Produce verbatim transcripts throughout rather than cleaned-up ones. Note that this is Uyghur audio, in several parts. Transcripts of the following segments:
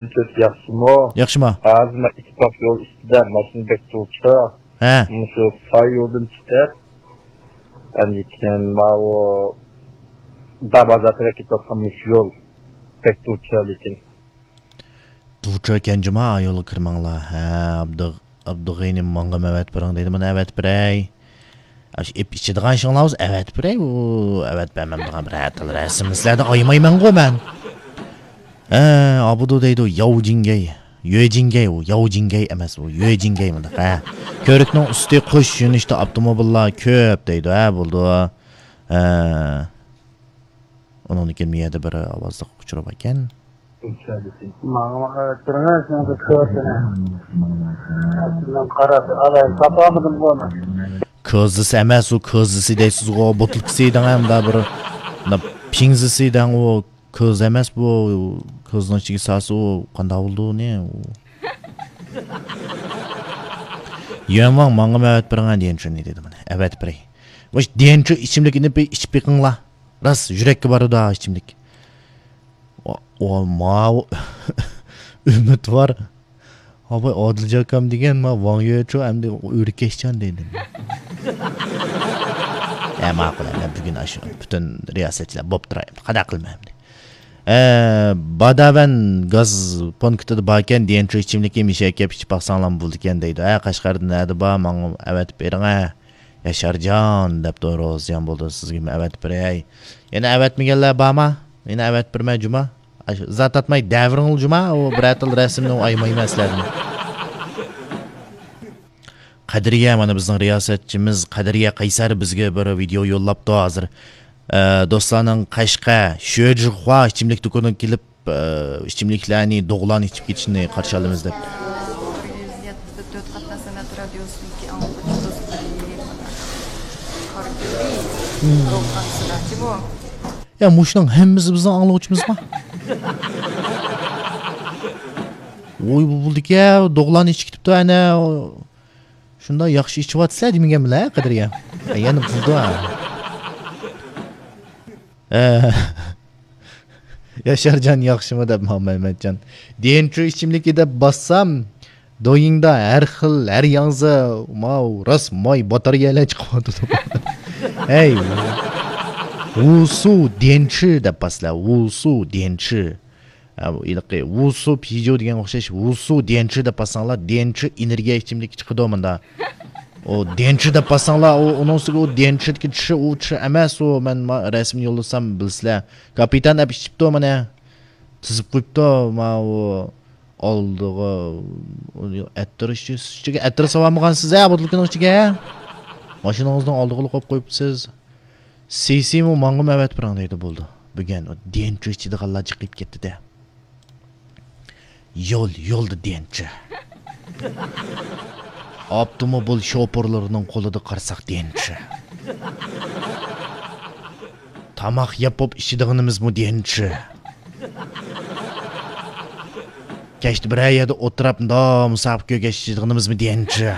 ياخشىمۇ؟ ياخشىما؟ ھازىر مەن ئىتتىپاق يول ئۈستىدە، ماشىنا بەك تۇرۇپتۇ. ھە. مۇشۇ ساي يولدىن چىقىپ، ئاندىن كېيىن ماۋۇ دابازار تەرەپ كېتىۋاتقان مۇشۇ يول بەك دۇچار لېكىن. دۇچار ئىكەن جۇما، يولغا كىرمەڭلار. ھە، ئابدۇ-، ئابدۇغېنى ماڭغىمۇ ئەۋەتىپ بېرىڭ دەيدۇ، مانا ئەۋەتىپ بېرەي. ئاشۇ ئېپ ئىچىدىغان ئىشىڭلار بولسا ئەۋەتىپ بېرەي، ئۇ ئەۋەتىپ بەرمەمدىغان بىر ھەتەل رەسىمنى سىلەردىن ئايىمايمەنغۇ مەن. ھە، ئابدۇ دەيدۇ، ياۋ جىڭگەي. يۆ جىڭگەي ئۇ، ياۋ جىڭگەي ئەمەس ئۇ، يۆ جىڭگەي مۇنداق، ھە. كۆۋرۈكنىڭ ئۈستى قوش يۆنىلىشتە ئاپتوموبىللار كۆپ دەيدۇ، ھە، بولىدۇ. ھە. ئۇنىڭدىن كېيىن بۇ يەردە بىر ئاۋازلىق ئۇچۇر بار ئىكەن. ماڭا، ماڭا ئۆتتۈرمە، سېنىڭ بىر كۆرسىنە. قاراپ، ئالاي، تاپالمىدىم بۇنى. كۆزىسى ئەمەس ئۇ، كۆزىسى دەيسىزغۇ، بوتۇلكىسى دەڭ، ھەمدە بىر، مۇنداق پىڭزىسى دەڭ ئۇ. كۆز ئەمەس بۇ، كۆزنىڭ ئىچىگە سالسا ئۇ قانداق بولىدۇ ئۇنى؟ يۈەنۋاڭ ماڭا ئەۋەتىپ بېرىڭە ديەنچىنى دېدى مانا. ئەۋەتىپ بېرەي. مۇشۇ ديەنچى ئىچىملىكىنى بىر ئىچىپ بېقىڭلار. راست يۈرەككە بارىدۇ ھا ئىچىملىك. ئۇ، ئۇ ماۋۇ ئۈمىدۋار. ھاۋاي، ئادىلجان ئاكام دېگەن، ما، ۋاڭ يۆچۇ ئەمدى ئۆركەشچان دەيدۇ. ئە، ماقۇل، ئە، مەن بۈگۈن ئاشۇ پۈتۈن رىياسەتچىلەر بوپ تۇراي. قانداق قىلىمەن ئەمدى؟ ئە، باداۋەن گاز پونكىتىدا باركەن، ديەنچۇ ئىچىملىكى مىشە ئەكەپ ئىچىپ باقساڭلارمۇ بولىدىكەن دەيدۇ. ئە، قەشقەردە نەدە بار؟ ماڭا ئەۋەتىپ بېرىڭە. ياشارجان دەپتۇ، روزىجان بولدى، سىزگىمۇ ئەۋەتىپ بېرەي. يەنە ئەۋەتمىگەنلەر بارما؟ يەنە ئەۋەتىپ بېرىمەن جۇما. ئاشۇ ئىزا تارتماي دەۋرىڭلار جۇما، ئۇ بىرەر تال رەسىمنى ئايىمايمەن سىلەردىن. قەدرىيە، مانا بىزنىڭ رىياسەتچىمىز قەدرىيە قەيسەر بىزگە بىر ۋىدېئو يوللاپتۇ ھازىر. ئە، دوستلارنىڭ قەشقەر شۆجىخۇا ئىچىملىك دۇكىنىغا كېلىپ، ئە، ئىچىملىكلەرنى دوغىلان ئىچىپ كېتىشىنى قارشى ئالىمىز دەپ. بىزدە تۆت قاتناش سەنئەت رادىيوسىدىكى ئاڭلىغۇچىمىز قارا كۆلى. يا، مۇشۇنىڭ ھەممىسى بىزنىڭ ئاڭلىغۇچىمىزما؟ ۋوي، بۇ بولدىكەن، دوغىلان ئىچىپ كېتىپتۇ، ئەنە. شۇنداق ياخشى ئىچىۋاتىسىلەر دېمىگەن بىلەن، قەدرىيە. ئە، يەنە بولدى. ئە، ياشارجان ياخشىمۇ دەپ، ماڭا مەمەتجان. ديەنچۇ ئىچىملىكى دەپ باسسام، دويىڭدا ھەر خىل، ھەر ياڭزا، ماۋۇ راست ماي باتارىيەلەر چىقىۋاتىدۇ. ھەي، ۋۇسۇ ديەنچۇ دەپ باسىلەر، ۋۇسۇ ديەنچۇ. ھە، بۇ ھېلىقى ۋۇسۇ پىجو دېگەنگە ئوخشاش، ۋۇسۇ ديەنچۇ دەپ باسساڭلار، ديەنچۇ ئېنېرگىيە ئىچىملىكى چىقىدۇ مۇندا. ئۇ ديەنچۇ دەپ باسساڭلار، ئۇ، ئۇنىڭ ئۈستىگە ئۇ ديەنچۇدىكى چۇ، ئۇ چۇ ئەمەس ئۇ، مەن ما-، رەسىمنى يوللىسام بىلىسىلەر. كاپىتان ئەپ ئىچىپتۇ مانا. تىزىپ قويۇپتۇ، ماۋۇ ئالدىغا ئەتىر ئىچى-، ئىچىگە ئەتىر سالالمىغانسىز ھە، بوتۇلكىنىڭ ئىچىگە. ماشىنىڭىزنىڭ ئالدىغىلا قويۇپ قويۇپسىز. سىسىمۇ ماڭىمۇ ئەۋەتىپ بېرىڭ دەيدۇ، بولدى. بۈگۈن ئۇ ديەنچۇ ئىچىدىغانلار جىقىپ كەتتى-دە. يول، يولدا ديەنچۇ. ئاپتوموبىل شوپۇرلىرىنىڭ قولىدا قارىساق ديەنچۇ. تاماق يەپ بولۇپ ئىچىدىغىنىمىزمۇ ديەنچۇ. كەچتە بىرەر يەردە ئولتۇراپ، مۇنداق مۇساپە كۆرگەچ ئىچىدىغىنىمىزمۇ ديەنچۇ.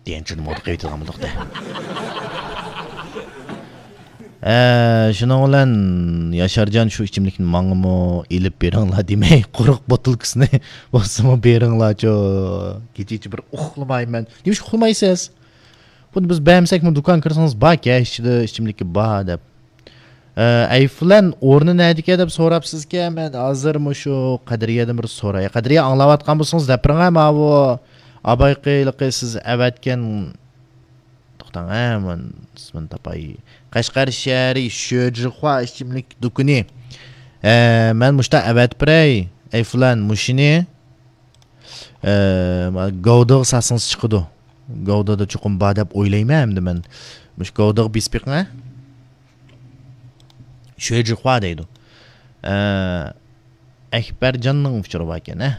ديەنچۇنى مودا قىلىۋېتىدىغان بولدۇق-دە. ھە، شۇنىڭ بىلەن ياشارجان شۇ ئىچىملىكنى ماڭىمۇ ئېلىپ بېرىڭلار دېمەي، قۇرۇق بوتۇلكىسىنى بولسىمۇ بېرىڭلارچۇ. كېچىچە بىر ئۇخلىمايمەن. نېمىشقا ئۇخلىمايسىز؟ بۇنى بىز بەرمىسەكمۇ دۇكان كىرسىڭىز بار، كەچ ئىچىدە ئىچىملىكى بار دەپ. ئە، ئەيفلەن ئورنى نەدىكەن دەپ سوراپسىزكەن، مەن ھازىر مۇشۇ قەدرىيەدىن بىر سوراي. قەدرىيە ئاڭلاۋاتقان بولسىڭىز دەپ بېرىڭە، ماۋۇ ئابايقى ھېلىقى سىز ئەۋەتكەن، توختاڭ، ھە، مەن ئىسمىنى تاپاي. قەشقەر شەھىرى شۆجىخۇا ئىچىملىك دۇكىنى. ئە، مەن مۇشتا ئەۋەتىپ بېرەي، ئەيفلەن مۇشۇنى. ئە، گاۋدىغا ساتسىڭىز چىقىدۇ. گاۋدىدا چوقۇم بار دەپ ئويلايمەن ئەمدى مەن. مۇشۇ گاۋدىغا بېسىپ بېقىڭ، ھە؟ شۆجىخۇا دەيدۇ. ئە، ئەكبەرجاننىڭ ئۇچۇرى باركەن، ھە؟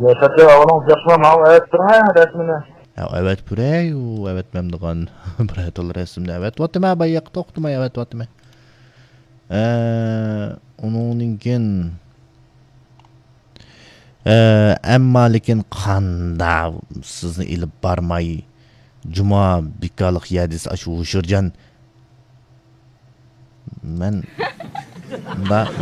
ياشاپ ئاۋۇنىڭ ياخشىما ماۋۇ ئەۋەتتىڭ، ھە، رەسمىنى؟ ھە، ئەۋەتىپ بېرەي، ئۇ ئەۋەتمەمدىغان بىر تال رەسىمنى ئەۋەتىۋاتىمەن، باياقتا توختىماي ئەۋەتىۋاتىمەن. ئە، ئۇنىڭدىن كېيىن ئە، ئەمما لېكىن قاندا سىزنى ئېلىپ بارماي، جۇما بىكارلىق يەردىسى ئاشۇ ھوشۇرجان. مەن مۇنداق.